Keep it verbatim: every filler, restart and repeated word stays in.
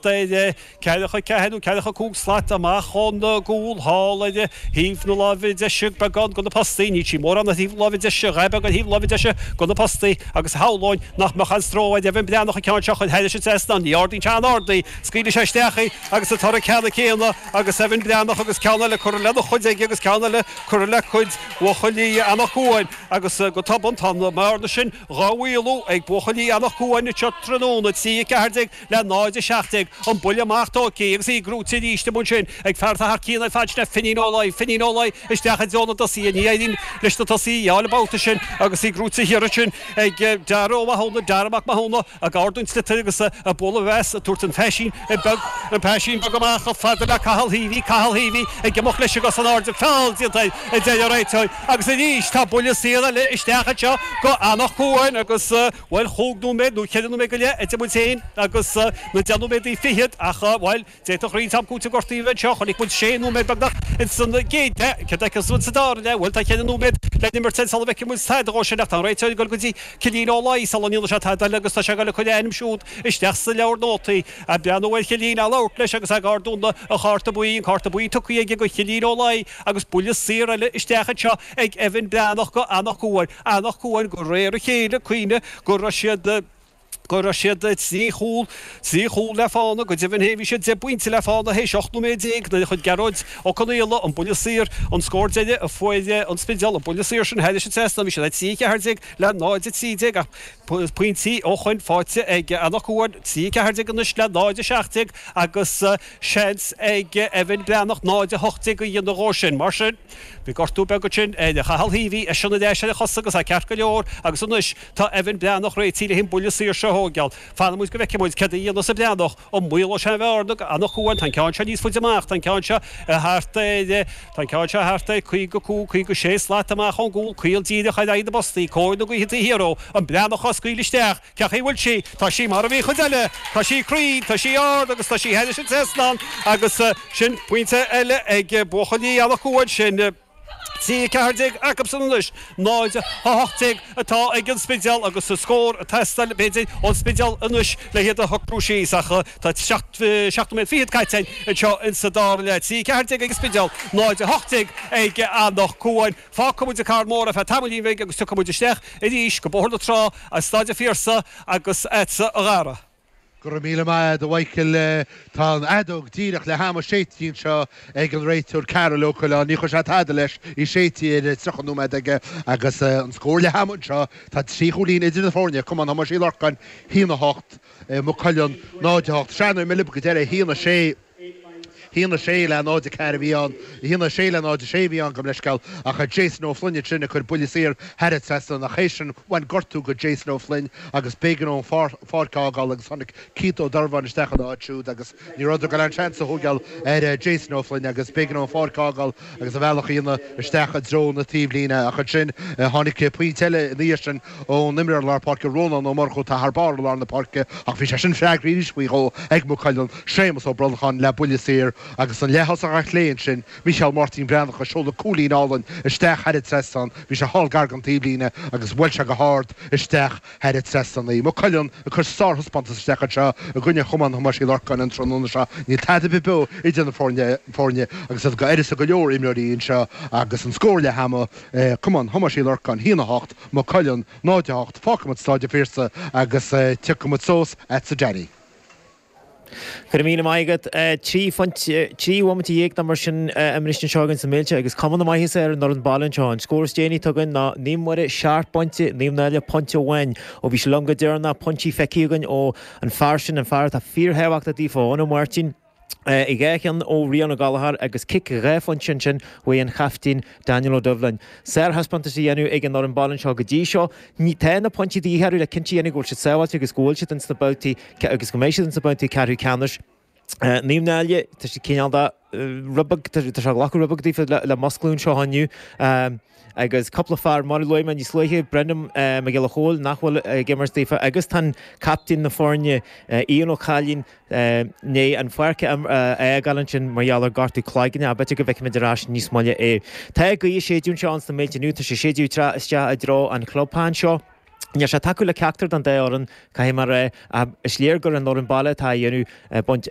ar ceathracha ceathair nó ceathracha cúig slat amach ón gcúl thall ar thaobh na láimhe deise beagán de na postaí. Níl sí mórán ar thaobh na láimhe deise, dhá beag ar thaobh na láimhe deise de na postaí agus shamhlóinn nach mbeadh aon stró ar Evan Breathnach an ceann seo a chur thairis an trasnán. Ní ardaíonn sé an-ard í, scaoilfidh sé isteach í agus an toradh ceanna céanna agus Evan Breathnach agus ceann eile curtha lena chuid aige agus ceann eile curtha le cuid bhuachaillí Anach Cuain agus go tobann tá an mbearna sin dhá mhaolú ag buachaillí Anach Cuain anseo tráthnóna, trí a ceathair déag le náid a seacht déag, an buille amach tógtha agus í gnóite arís amuigh ansin ag fear atá thar cionn ar fad, sin é Finín Ó Laoi, Finín Ó Laoi isteach i dtreo na dtosaithe, ní éiríonn leis na tosaithe a fháil an babhta sin agus í gnóite thiar ansin ag Dara Ó Mathúna, Dara Mac Mathúna ag ardú an tsliotair agus ag bualadh as, ag tabhairt an phaisín beag, an paisín beag amach chomh fada le Cathal Heavey, Cathal Heavey ag imeacht leis an gcos in airde, feall déanta air, a deir an réiteoir agus arís tá buille saor eile isteach anseo go Anach Cuain agus, bhuel, chúig nóiméad nó ceithre nóiméad go leith idir muid féin agus na deich nóiméadaí fichead ach, bhuel, d'fhéadfadh roinnt am cúitimh gortaithe a bheith anseo. Chonaic muid sé nóiméad beagnach ins an gcéad leath. Céard a fheicfeas muid sa dara leath? Bhuel, tá ceithre nóiméad le n-imirt sula bhfeicfidh muid tada dhó sin ach tá an réiteoir ag dul go dtí Cillín Ó Laoi sula ndéanfaidh sé tada eile agus tá sé ag dul ag cur a ainm siúd isteach sa leabhar nótaí. Ag breathnú ar Chillín, á labhairt leis agus ag ardú an chárta buí, an cárta buí tugtha aige go Chillín Ó Laoi agus buille saor eile isteach anseo ag Evan Breathnach go Anach Cuain. Anach Cuain de réir a chéile, cuimhnigh go raibh siad, go raibh siad trí chúl, trí chúl le fána, go deimhin féin bhí siad deich bpointe le fána théis ocht nóiméad déag nuair a chuir Gearóid Ó Conaola an buille saor, an scór deiridh a fuair an Spidéal, an buille saor sin thairis an trasnán, bhí siad a trí a ceathair déag le náid a trí déag ach pointí ó shoin faighte ag Anach Cuain, trí a ceathair déag anois le náid a seacht déag agus seans ag Evan Breathnach náid a hocht déag a dhéanamh dhó sin. Mar sin, bhí gortú beag ansin ar Chathal Heavey, eisean ar ais ar a chosa agus é ceart go leor agus anois tá Evan Breathnach réitithe le an buille saor seo a thóigeáil. Fanfaidh muid go bhfeicfidh muid céard a dhéanfas an Breathnach, an maolóidh sé an bhearna go Anach Cuain. Tá an ceann seo níos faide amach, tá an ceann seo thart ar, tá an ceann seo thart ar caoga cúig, caoga sé slat amach ón gcúl, caol díreach ar aghaidh na bpostaí, cóir na gaoithe taobh thiar dhó, an Breathnach á scaoileadh isteach, cén chaoi a bhfuil sí? Tá sí mar a bhí an chuid eile, tá sí cruinn, tá sí ard agus tá sí thairis an trasnán agus sin pointe eile ag buachaillí Anach Cuain, sin trí a ceathair déag acusan anois, náid a hocht déag atá ag an Spidéal agus scór ag teastáil b'fhéidir ón Spidéal anois le hiad a shocrú síos ach tá seacht nóiméad fichead caite anseo insa dara leath. Trí a ceathair déag ag an Spidéal, náid a hocht déag ag Anach Cuain. Fágfaidh muid an Carn Mór ar feadh tamaillín bhig agus tiocfaidh muid isteach arís go Bóthar na Trá as Staid an Phiarsaigh agus agatsa a Dhara. Go raibh míle maith agat a Mhichael. Tá an fheadóg díreach leath ama séidte anseo ag an réiteoir Karol Ó Coileáin. Ní chuir sé tada leis, í séidte ar tríocha nóiméad aige agus an scór leath ama anseo, tá trí chúilín idir na foirne, Cumann Thomáis Uí Lorcáin, a haon a hocht, Maigh Cuilinn, náid a hocht. Sea, nuair a milleadh go deireadh, a haon a sé. haon a sé le náid a ceathair a bhí ann, haon a sé le náid a sé a bhí ann, gabh mo leithscéal, ach Jason Ó Floinn ansin ag cur buille saor thar an trasnán ach théis sin bhain gortú go Jason Ó Floinn agus b'éigean dó an pháirc a fhágáil agus tháinig Keith Ó Donnabháin isteach ina áit siúd agus ní rabhadar ag dul aon seans a thógáil ar Jason Ó Floinn agus b'éigean dó an pháirc a fhágáil agus a bhealach a dhéanamh isteach i dtreo na taobhlíne ach ansin tháinig pointe eile ina dhiaidh sin ón imreoir lár páirce Rónán Ó Murchú atá thar barr i lár na páirce ach bhí sé sin freagraithe arís faoi dhó ag Maigh Cuilinn, Séamus Ó Brolcháin le buille saor agus an leath-thosach ar chlé ansin, Mícheál Máirtín Breathnach ag seoladh cúilín álainn isteach thar an trasnán, bhí sé thall gar don taobhlíne agus bhuail sé go hard isteach thar an trasnán í. Maigh Cuilinn ag cur sárthaispeántas isteach anseo i gcoinne Chumann Thomáis Uí Lorcáin an tráthnóna seo. Níl tada ar bith beo idir na foirne agus iad go uireasa go leor imreoirí anseo agus an scór leath ama, Cumann Thomáis Uí Lorcáin a haon a hocht, Maigh Cuilinn náid a hocht. Fágfaimid Stáid an Phiarsaigh agus tiocfaimid suas agatsa Danny. Go raibh míle maith agat. Trí phointe, trí bhomaite dhéag nó mar sin imeartha anseo againn sna Méilte agus cuma na maitheasa ar an fhoireann baile anseo. An scór is déanaí atá againn ná Naomh Muire seacht bpointe, Naomh Náille pointe amháin. Ó bhí sé liom go deireanach, pointí feicthe againn ó an fear sin, an fear atá fíorthábhachtach daofa, Eoin Ó Máirtín. Dhá cheann ó Rian Ó Gallchóir agus cic dhá phointe ansin uaidh an chaiftín Daniel Ó Doibhlin. Sárthaispeántas á dhéanamh ag an fhoireann baile anseo go dtí seo. Tá na pointí de dhíth orthu le cinnte a dhéanamh go bhfuil siad sábháilte agus go bhfuil siad ins na babhtaí agus go mbeidh siad ins na babhtaí ceathrú ceannais. Naomh Náille, tá siad cineál de rud beag, tá sé ag glacadh rud beag daofa le musclú anseo inniu. Agus cúpla fear, mar a luaigh mé níos luaithe, Brendan Mac Giolla Chóill, nach bhfuil ag imirt daofa agus tá an captaen na foirne, Ian Ó Cailín, i ndiaidh an pháirc a fhágáil ansin mar gheall ar gortú cloigne, ach b'fhéidir go bhfeicfimid ar ais níos moille é. Tá gaoth ag séideadh anseo ins na Méilte inniu, tá sé ag séideadh isteach i dtreo an chlubtheach anseo. Níl sé ag tacú le ceachtar den dá fhoireann, caithfidh mé a rá, ach is léir gur an fhoireann baile atá ag déanamh baint.